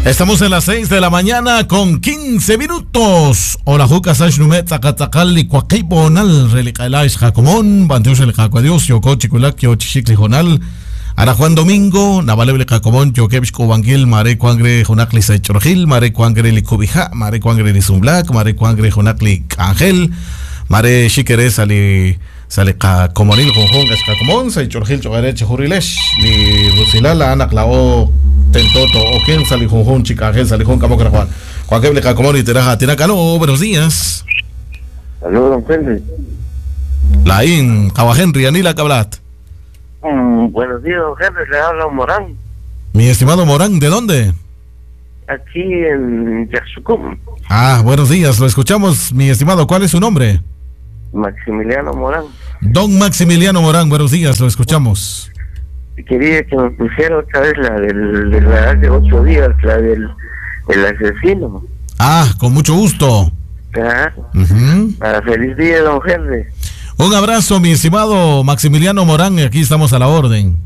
Estamos en las 6 de la mañana con 15 minutos. Hola, Juca Sash Numet, Zacatzacal, Licuaquibonal, Relicaelash, Jacomón, Banteos el Jacuadios, Yocochiculak, Yochichiclijonal, Ara Juan Domingo, Navaleble Jacomón, Yokebsh Cubanquil, Mare Cuangre, Jonacli Saichorgil, Mare Cuangre Licubija, Mare Cuangre Lizumblak, Mare Cuangre Jonacli Ángel, Mare Xiquere Sali. Sali Kakomonil, Junjun, Escacomón, Saichorgil, Chogareche, Jurilesh, Li Rusilala, Ana Clao, Tentoto, Oken, Sali Junjun, Chica Ángel, Sali Jun, Camo, Juan. Juan Keble, Cacomón y Teraja, Tinacalo, buenos días. Saludos, don Henry. Laín, Kawa Henry, Anila Cablat. Buenos días, don Henry, le habla Morán. Mi estimado Morán, ¿de dónde? Aquí en Yaxucum. Ah, buenos días, lo escuchamos, mi estimado. ¿Cuál es su nombre? Maximiliano Morán. Don Maximiliano Morán, buenos días, lo escuchamos. Quería que me pusiera otra vez la del, de la de 8 días, la del el asesino. Ah, con mucho gusto. Ah, Para feliz día, don Henry. Un abrazo, mi estimado Maximiliano Morán, aquí estamos a la orden.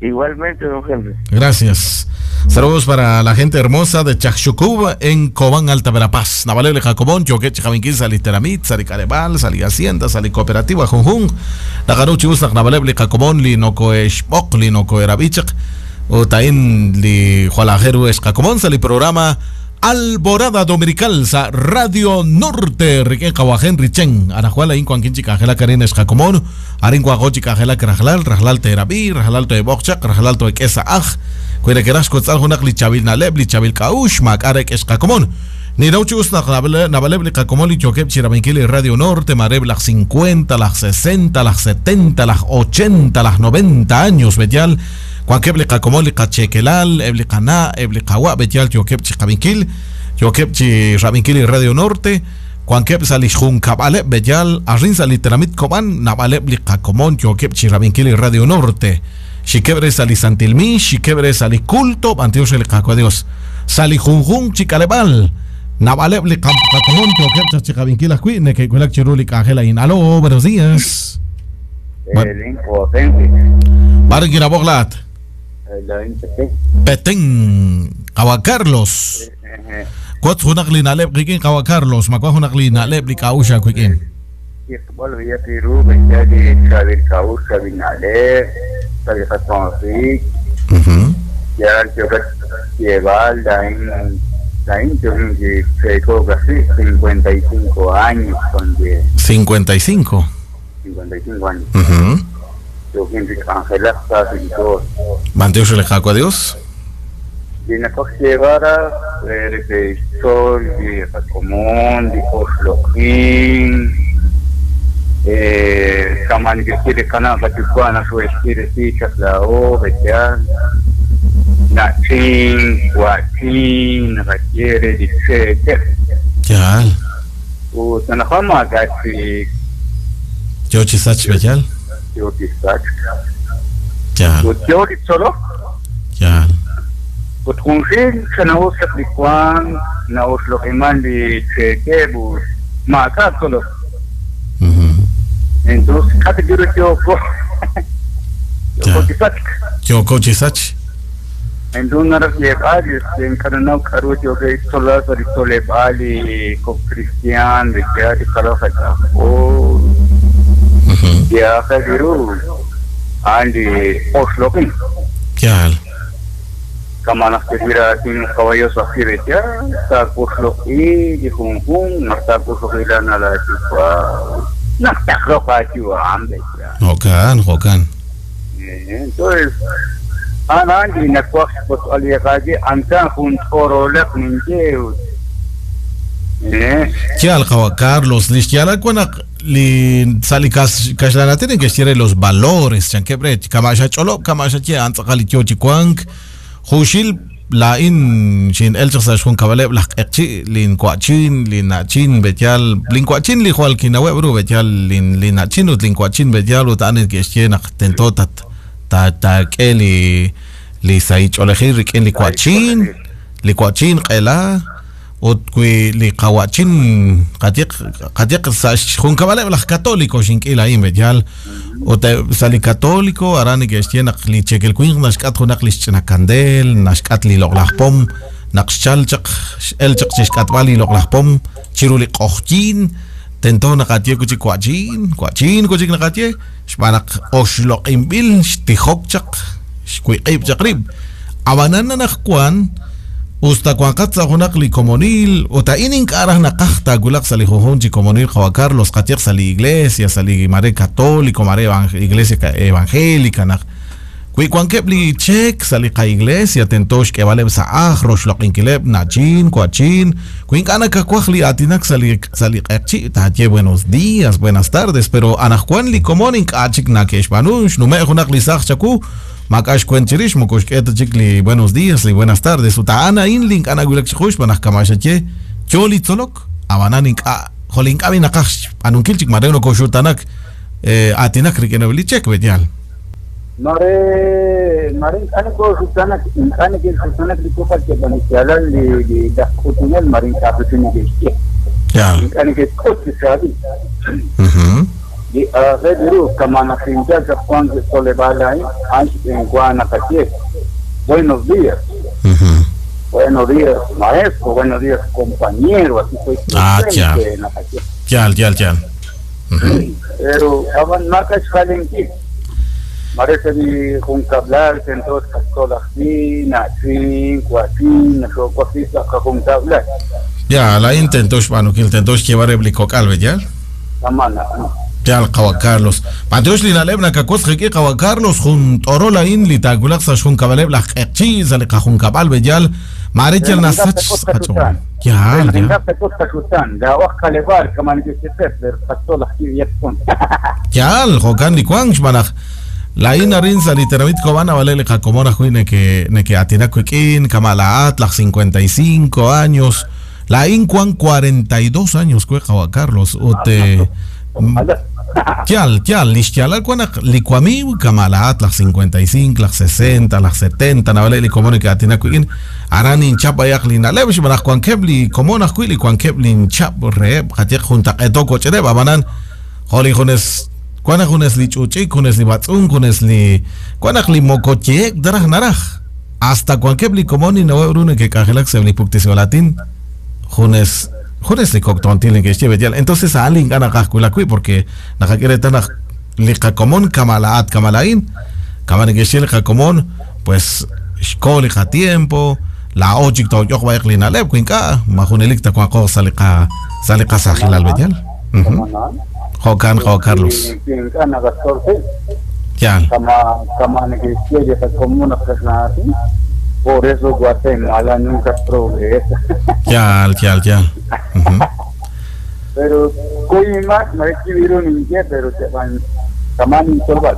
Igualmente, don Henry. Gracias. Saludos para la gente hermosa de Chacchucub en Cobán, Alta Verapaz. Navalele Jacobón, Choquech, Javinquín, Saliteramit, Salicarebal, Sali Hacienda, Sali Cooperativa, Junjun, Nagaruchi, Usnak, Navalele Jacobón, Linocoeshpok, Linocoerabichak, Otain, Li Jualajeru, Escacomón, Sali Programa Alborada Dominical, sa Radio Norte, Riquén Kawajen, Richen, Arajuala, Incuan, Quinchica, Angela Karina, Escacomón, Arinco, Agochica, Angela, Krajlal, Rajlal, Terabi, Rajlal, Toebochak, Rajlal, Toequesa, Aj, Cuerequeras, Cotzal, Junak, Lichabil, Naleb, Lichabil, Kaush, Macarek, Escacomón. Nirauchi, Usnak, Navaleb, Licacomón, Lichoquep, Chirabenquil, Radio Norte, Mareb, las 50, las 60, las 70, las 80, las 90 años, Betial, Cuanqueb, Licacomón, Licachequelal, Eblicaná, Eblicahuá, Betial, Choquep, Chicabenquil, Choquep, Chirabenquil, Radio Norte, Cuanqueb, Salishun, Cabaleb, Betial, Arrin, Saliteramit, Cobán, Navaleb, Licacomón, Choquep, Chirabenquil, Radio Norte. Xiquebre Salisantilmi, Xiquebre Saliculto, Antioch el Cacuadios, Salijunjun, Chicalebal, Navaleb, Licacomón, Choquep, Chicabenquil, Cui, Nequecuelac, Chirulic, Ángela, Inaló, buenos días. Barguiraboglat. Petén, Kawa Carlos. Cuatro junakli naleb, Riquín Kawa Carlos, Macua junakli naleb, Licausha, Cuiquín. Ya 55 años. 55. 55 años. Manteos el jaco a Dios. Ya. Yo chisach beyal. Ya. Ya. Entonces, yo cochisach. Entonces, encarnado carucho que solas ali con cristian de que hay caloja o ya jadiru andi oslokin. Ya. Kamanas que mira tiene caballos así de ya está osloki y jun jun no está osloki la nada no está roja hambre. Jocan, jocan. Entonces Chal Carlos, li sali kashlana tienen que ser los valores, chanquebre, kamasha cholo, kamasha che, antzakali chochicuank, jushil la in shin el chas jun kabaleb la echi lin cuachin lin nachin betial lin cuachin li jual kinawebru betial lin lin nachin ut lin cuachin betial ut anet que nak tentotat ta ta ke li li saich olejir rikin li cuachin qela ut kui li qawachin qatiq qatiq jun kabaleb la católico shin kila in betial ut sali católico arani que xtiena li chekel kuin nashkat junak li chena candel nashkat li loglajpom Naq xchal chaq x'el chaq chi xk'atb'al li loq'laj pom chiru li q'oqyink tento naqaye wi' chik wa'chin wa'chin wi' chik naqaye xb'aan naq oxloq'inb'il xtijok chaq xwiq'ib' chaq rib'. Ab'anan anaqwan usta wanqat sa' junaq li komonil ut a'in ink'a' raj naqaj taawulaq sa' li junjunq chi komonil qawa' Carlos qayeq sa' li iglesia sa' li mare católico mare iglesia evangélica naq wi wankeb' li cheek sa' li qa-iglesia tento xk'eeb'aleb' sa' ajl roxloq'inkileb' na'chin wa'chin wi ink'a' nakawaj li aatinak sa' li sa' li q'eqchi' taaye buenos días buenas tardes pero anaqwan li komon ink'a' chik nake'xb'aanu xnume' junaq li saaj chawu maak'a' xkuent chirix moko xk'e ta chik li buenos días li buenas tardes ut a'an a'in li ink'a' nawulak chiqu xb'aan naq kama' xaye yo li tzolok ab'anan ink'a' jo' li ink'a' b'i naqaj xb'aanunkil chik mare nokoxutanak aatinak rik'ineb' li cheek b'e'yaal. Mare mare ink'a' nokoxutanak ink'a' neke'xutanak li kok'al keb'an li xyaalal li li laj k'utunel mare ink'a' ajwi' neke'xye. Yaal. Ink'a' neke'xk'ut chi chaab'il. Li aajel ru kama' naq xinyal chaq wank li tzoleb'aal a'in, a'an xb'eenwa naqaye buenos días. Buenos días maestro, buenos días compañero, así pues Ah, yaal. naqaye. Yaal, yaal, yaal. Pero ab'an maak'a' xjalenkil. Mare sa' li junkab'lal tento xqatzol ajwi' na'chin, wa'chin, naxo'wajwi' sa' qajunkab'lal. Yaal, a'in tento xb'aanunkil tento xyeeb'al reheb' li kok'al b'e'yaal. Kama' na'an. Yaal qawa' Carlos. B'antiox li na'leb' nakawotz qik'in qawa' Carlos jun t'orol a'in li taawulaq sa' xjunkab'aleb' laj q'eqchi' sa' li qajunkab'al b'e'yaal mare yal nasach sa' qach'ool. Yaal, yaal. Yaal, jo'kan li wank xb'aan naq laa'in arin sa' li tenamit Cobán ab'aleb' li qakomon ajwi' neke neke'aatinak wik'in kama' laa'at laj 55 años laa'in wan 42 años we qawa' Carlos ut yaal yaal li xyaalal wan naq li wamiiw kama' laa'at laj 55 laj 60 laj 70 naab'aleb' li komon neke'aatinak wik'in aran ninchap b'ayaq li na'leb' xb'aan naq wankeb' li komon ajwi' li wankeb' linchap reheb' qayeq juntaq'eeto koch'ereb' ab'anan jo' li junes wan naq junes li ch'uch'ik junes li b'atz'unk junes li wan naq li moko yeek ta raj naraj hasta wankeb' li komon ninaweb' ru neke'k'anjelak sa' li puktesib'al aatin junes junes li kok' tontil neke'xye b'e'yaal entonces a'an li ink'a' naqaj wulak wi' porque naqak'e reetal naq li qakomon kama' laa'at kama' laa'in kama' neke'xye li qakomon pues xko li qatiempo laa'o chik tooyoq b'ayaq li na'leb' wi ink'a' ma junelik ta wanqo sa' li qa sa' li qasajilal b'e'yaal. Jo'kan qawa' Carlos. Ink'a' naqatzol qib'. Yaal. Kama' kama' neke'xye li qakomon naq kaxlan por eso Guatemala nunca progresa. Yaal, yaal, yaal. Pero kuy más mare kibiru ninye pero cheban kama' nintzolb'al.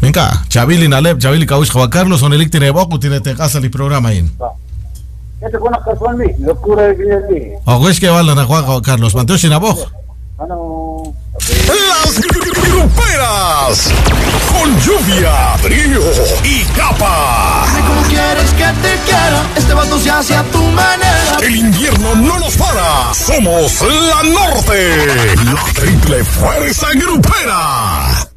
Ink'a' chaab'il li na'leb' chaab'il li k'a'uxl qawa' Carlos junelik tineeb'oq ut tineetenq'a sa' li programa a'in. Ese con la locura de vida. Ojo xk'eeb'al anaqwan qawa' Carlos b'antiox xinab'oq. Ano. Las gruperas con lluvia, frío y capa. ¿Cómo quieres que te quiera? Este vato se hace a tu manera. El invierno no nos para. Somos la Norte. La triple fuerza grupera.